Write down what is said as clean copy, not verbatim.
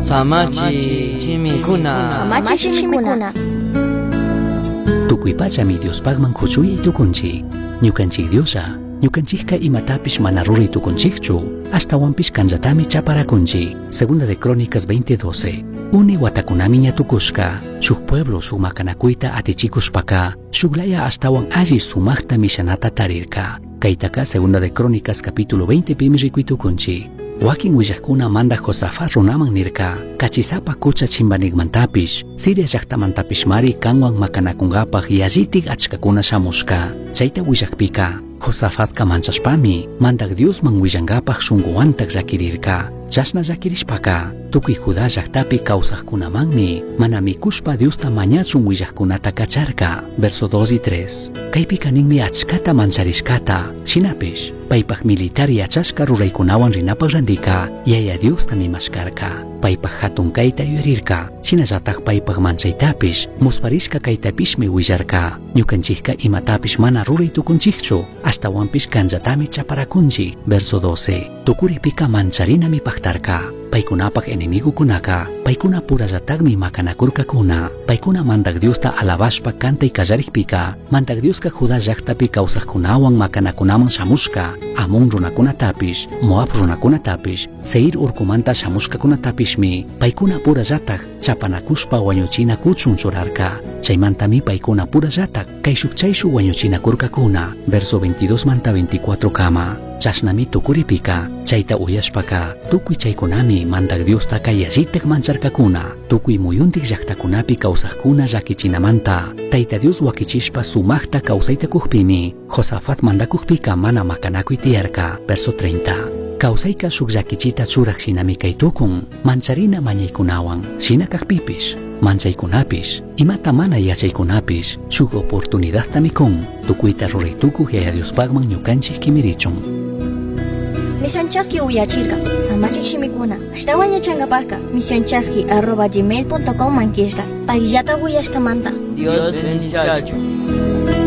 Samachi shimikuna. Samachi shimikuna. Tukuy pachami Diospaqman kuchuyay tukunchik. Ñukanchik Dioslla, ñukanchikka imatapish mana ruray tukunchikchu, ashtawanpish kanllatami chaparakunchik. Segunda de Crónicas 20:12. Uni watakunami ña tukushka, shuk pueblo shuk makanakuyta atichikushpaka, shuklaya ashtawan alli sumaqta mishanata tarirka. Kaytaka Segunda de Crónicas capítulo 20 pimi rikuy tukunchik. Wakin willaqkuna mandaq Josafat runaman nirka, kachisapa kucha chimbanikmantapish, Siria llaqtamantapishmari kanwan makanakunkapaq yallitik achkakuna shamushka. Chayta willaqpika, Josafatka manchashpami, mandaq Diosman willankapaq shunquwantaq llakirirka. Chashna llakirishpaka, tukuy Judá llaqtapi kawsaqkunamanmi, mana mikushpa Diosta mañachun willaqkunata kacharka. Verso 2 y 3. Kaypika ninmi achkata mancharishkata, shinapish, paypaq militar yachashka ruraykunawan rinapaq randika, Yaya Diostami mashkarka. Paypaq hatun kayta yuyarirka, shinallataq paypaq manchaytapish, musparishka kaytapishmi willarka. Ñukanchikka imatapish mana ruray tukunchikchu, ashtawanpish kanllatami chaparakunchik. Verso 12. Tukuripika mancharinami paqtarka. Paykunapaq enemigukunaka, paykuna purallataqmi makanakurkakuna. Paykuna mandaq Diosta alabashpa kantay kallarikpika, mandaq Dioska Judá llaqtapi kawsaqkunawan makanakunaman shamushka, Amón runakunatapish, Moab runakunatapish, Seir urkumanta shamushkakunatapishmi, paykuna purallataq chapanakushpa wañuchinakuchun churarka. Chaymantami paykuna purallataq kayshuk chayshuk wañuchinakurkakuna. Verso 22 manta 24 kama. Chashnami tukuripika, chayta uyashpaka, tukuy chaykunami mandaq Diostaka yallitak mancharkakuna, tukuy muyuntik llaqtakunapi kawsaqkuna llakichinamanta, Tayta Dios wakichishpa sumaqta kawsayta kuqpimi, Josafat mandakukpika mana makanakuy tiyarka. Verso 30. Kawsayka shuk llakichita churaq shinami kay tukun, mancharina mañaykunawan, shina kaqpipish, manchaykunapish, imata mana yachaykunapish, shuk oportunidadtami kun, tukuyta ruray tukuq Yaya Diospaqman ñukanchik kimirichun. Misión Chaski uyachirka, samachik shimikuna, ashtawan yachankapakka, misionchaski@gmail.com mankishka, payllata uyashkamanta. Dios bendiciachu.